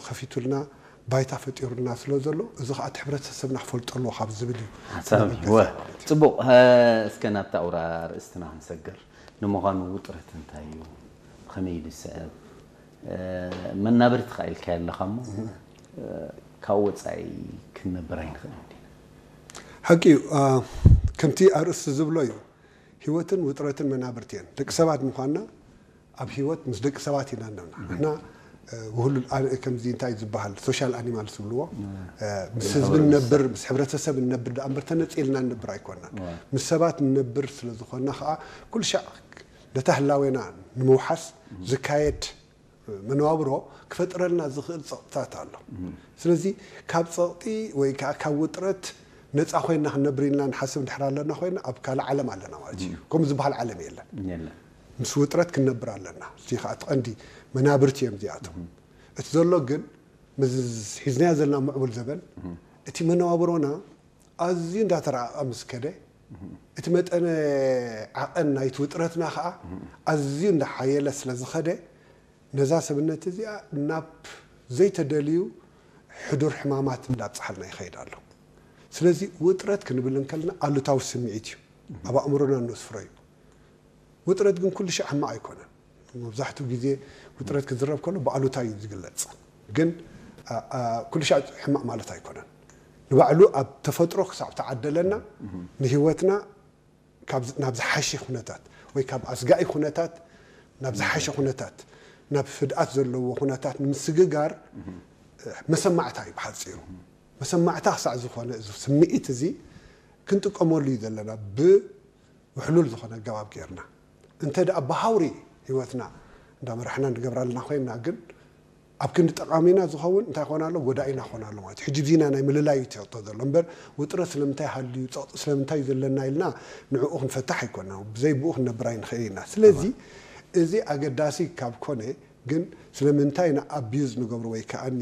ከፊቱልና፣ ባይታ ፈጢሩልና ስለ ዘሎ፣ እዚ ከዓ እቲ ሕብረተሰብና ክፈልጦ ኣለዎ ካብ ዝብል እዩ። ሓሳብ እዩ። ወ- ጽቡቕ። እስከ ናብታ ኣውራ ርእስትና ክንሰግር። ንምዃኑ ውጥረት እንታይ እዩ? ብኸመይ እዩ ዝስዕብ? መናብርቲ ኸዓ ኢልካዮ ኣለኻ እሞ፣ ካብ ወጻኢ ክንነብር ኣይንኽእልን ዲና? ሓቂ እዩ። ከምቲ ኣርእስቲ ዝብሎ እዩ፣ ህይወትን ውጥረትን መናብርቲ እየን። ደቂ ሰባት ምዃንና ኣብ ህይወት ምስ ደቂ ሰባት ኢና ኣለና። ንሕና ውህሉል፣ ከምዚ እንታይ ዝበሃል፣ ሶሻል ኣኒማልስ ዝብልዎ፣ ምስ ህዝቢ ንነብር፣ ምስ ሕብረተሰብ ንነብር ደኣ እምበር ተነጺልና ንነብር ኣይኮናን። ምስ ሰባት ንነብር ስለ ዝኾንና ከዓ ኩሉ ሻዕ ነታ ህላዌና ንምውሓስ ዝካየድ መነባብሮ ክፈጥረልና ዝኽእል ጸቕጥታት ኣሎ። ስለዚ ካብ ጸቕጢ ወይ ከዓ ካብ ውጥረት ነፃ ኮይና ክንነብር ኢልና ንሓስብ እንድሕር ኣለና ኮይና ኣብ ካልእ ዓለም ኣለና ማለት እዩ። ከምኡ ዝበሃል ዓለም የለን። ምስ ውጥረት ክንነብር ኣለና። እዚ ከዓ እቲ ቀንዲ መናብርቲ እዮም እዚኣቶም። እቲ ዘሎ ግን ምስ ሒዝናዮ ዘለና ምዕቡል ዘበን እቲ መነባብሮና ኣዝዩ እንዳተረኣቐ ምስ ከደ እቲ መጠነ ዓቐን ናይቲ ውጥረትና ከዓ ኣዝዩ እንዳሓየለ ስለ ዝኸደ ነዛ ሰብነት እዚኣ ናብ ዘይተደልዩ ሕዱር ሕማማት እንዳብፅሓልና ይኸይድ ኣሎ። ስለዚ ውጥረት ክንብል እንከለና ኣሉታዊ ስምዒት እዩ ኣብ ኣእምሮና እነስፍሮ እዩ። ውጥረት ግን ኩሉ ሻዕ ሕማቕ ኣይኮነን። መብዛሕትኡ ግዜ ውጥረት ክዝረብ ከሎ ብኣሉታ እዩ ዝግለጽ። ግን ኩሉ ሻዕ ሕማቕ ማለት ኣይኮነን። ንባዕሉ ኣብ ተፈጥሮ ክሳብ ተዓደለና ንህይወትና ናብ ዝሓሸ ኩነታት ወይ ካብ ኣስጋኢ ኩነታት ናብ ዝሓሸ ኩነታት ናብ ህድኣት ዘለዎ ኩነታት ንምስግጋር መሰማዕታ እዩ ብሓፂሩ። መሰማዕታ ክሳዕ ዝኾነ እዚ ስምዒት እዚ ክንጥቀመሉ እዩ ዘለና ብ ውሕሉል ዝኾነ ኣገባብ ጌርና እንተ ደኣ ብሃውሪ ህይወትና እንዳመራሕና ንገብራ ኣለና ኮይንና ግን ኣብ ክንዲ ጠቓሚና ዝኸውን እንታይ ኾን ኣሎ ጎዳኢና ኾን ኣሎ ማለት እዩ። ሕጂ ብዚና ናይ ምልላይ እዩ ትሕቶ ዘሎ እምበር ውጥረት ስለምንታይ ሃልዩ ጸቕጢ ስለምንታይ እዩ ዘለና ኢልና ንዕኡ ክንፈታሕ ኣይኮና ብዘይ ብኡ ክንነብር ኣይንኽእል ኢና። ስለዚ እዚ ኣገዳሲ ካብ ኮነ ግን ስለምንታይ ኢና ኣቢዩዝ ንገብሮ ወይ ከዓኒ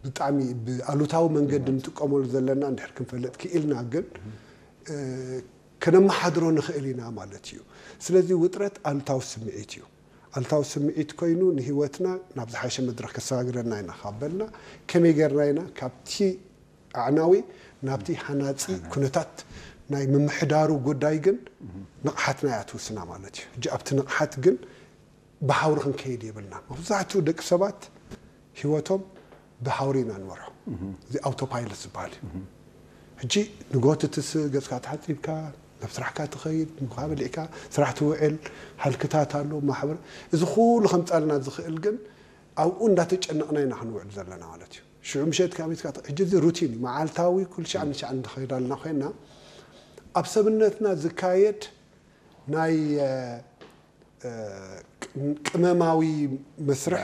ብጣዕሚ ብኣሉታዊ መንገዲ ንጥቀመሉ ዘለና እንድሕር ክንፈልጥ ክኢልና ግን ከነመሓድሮ ንኽእል ኢና ማለት እዩ። ስለዚ ውጥረት ኣሉታዊ ስምዒት እዩ። ኣሉታዊ ስምዒት ኮይኑ ንህይወትና ናብ ዝሓሸ መድረኽ ከሰጋግረና ኢና ካብ በልና ከመይ ጌርና ኢና ካብቲ ኣዕናዊ ናብቲ ሃናፂ ኩነታት ናይ ምምሕዳሩ ጉዳይ ግን ንቕሓትና እያ ትውስና ማለት እዩ። ሕጂ ኣብቲ ንቕሓት ግን ብሃውሪ ክንከይድ የብልና። መብዛሕትኡ ደቂ ሰባት ህይወቶም ብሃውሪ ኢና ንመርሖ። እዚ ኣውቶፓይለት ዝበሃል እዩ። ሕጂ ንጎ ትትስእ፣ ገፅካ ተሓፂብካ ናብ ስራሕካ ትኸይድ፣ ምግብካ በሊዕካ ስራሕ ትውዕል፣ ሃልክታት ኣሎ፣ ማሕበር፣ እዚ ኩሉ ከምፃልና ዝኽእል ግን ኣብኡ እንዳተጨነቕና ኢና ክንውዕል ዘለና ማለት እዩ። ሽዑ ምሸት ካብ ቤትካ ሕጂ እዚ ሩቲን እዩ፣ መዓልታዊ ኩሉ ሻዕ ንሻዕ እንድኸይድ ኣለና ኮይና ኣብ ሰብነትና ዝካየድ ናይ ቅመማዊ መስርሕ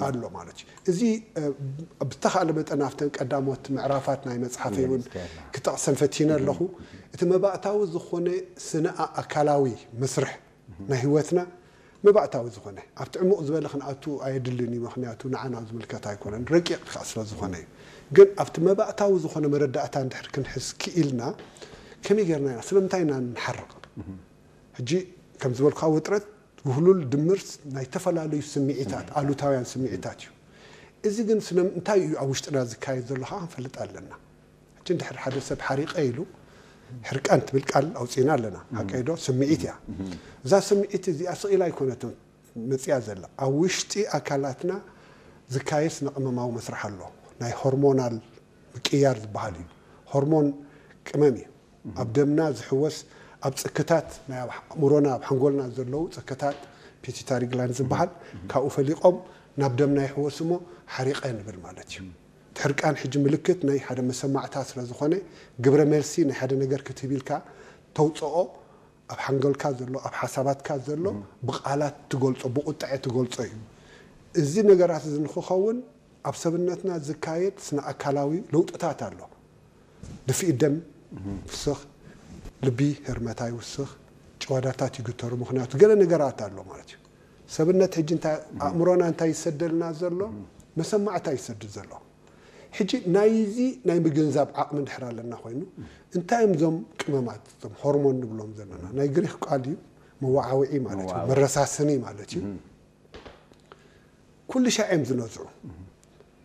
ኣሎ ማለት እዩ። እዚ ብተኻእለ መጠን ኣብተን ቀዳሞት ምዕራፋት ናይ መፅሓፈይ እውን ክጠቕሰን ፈቲነ ኣለኹ። እቲ መባእታዊ ዝኾነ ስነ ኣካላዊ መስርሕ ናይ ህይወትና መባእታዊ ዝኾነ ኣብቲ ዕሙቕ ዝበለ ክንኣቱ ኣየድልን እዩ። ምክንያቱ ንዓና ዝምልከት ኣይኮነን፣ ረቂቕ ከዓ ስለ ዝኾነ እዩ። ግን ኣብቲ መባእታዊ ዝኾነ መረዳእታ እንድሕር ክንሕዝ ክኢልና ከመይ ጌርና ኢና ስለምንታይ ኢና ንሓርቕ? ሕጂ ከም ዝበልኩካ ውጥረት ውህሉል ድምር ናይ ዝተፈላለዩ ስምዒታት ኣሉታውያን ስምዒታት እዩ። እዚ ግን ስለምንታይ እዩ ኣብ ውሽጥና ዝካየድ ዘሎ ከዓ ክንፈልጥ ኣለና። ሕጂ እንድሕር ሓደ ሰብ ሓሪቐ ኢሉ ሕርቃን ትብል ቃል ኣውፂና ኣለና። ሓቀይ ዶ? ስምዒት እያ። እዛ ስምዒት እዚኣ ስቕ ኢላ ኣይኮነትን መፅያ ዘላ። ኣብ ውሽጢ ኣካላትና ዝካየድ ስነ ቅመማዊ መስርሕ ኣሎ። ናይ ሆርሞናል ምቅያር ዝበሃል እዩ። ሆርሞን ቅመም እዩ። ኣብ ደምና ዝሕወስ ኣብ ፅክታት ናይ ኣብ ኣእምሮና ኣብ ሓንጎልና ዘለዉ ፅክታት ፒቲታሪ ግላንድ ዝበሃል ካብኡ ፈሊቖም ናብ ደምና ይሕወስ እሞ ሓሪቐ ንብል ማለት እዩ። እቲ ሕርቃን ሕጂ ምልክት ናይ ሓደ መሰማዕታ ስለ ዝኾነ ግብረ መልሲ ናይ ሓደ ነገር ክትህብ ኢልካ ተውፅኦ ኣብ ሓንጎልካ ዘሎ ኣብ ሓሳባትካ ዘሎ ብቃላት ትገልፆ ብቁጥዐ ትገልፆ እዩ። እዚ ነገራት እዚ ንክኸውን ኣብ ሰብነትና ዝካየድ ስነ ኣካላዊ ለውጥታት ኣሎ። ድፍኢት ደም ይውስኽ፣ ልቢ ህርመታ ይውስኽ፣ ጭዋዳታት ይግተሩ። ምክንያቱ ገለ ነገራት ኣሎ ማለት እዩ። ሰብነት ሕጂ እንታይ ኣእምሮና እንታይ ይሰደልና ዘሎ መሰማዕታ ይሰድድ ዘሎ። ሕጂ ናይዚ ናይ ምግንዛብ ዓቕሚ እንድሕር ኣለና ኮይኑ እንታይ እዮም እዞም ቅመማት እዞም ሆርሞን ንብሎም ዘለና ናይ ግሪክ ቃል እዩ። መወዓውዒ ማለት እዩ፣ መረሳስኒ ማለት እዩ። ኩሉ ሻዕ እዮም ዝነዝዑ።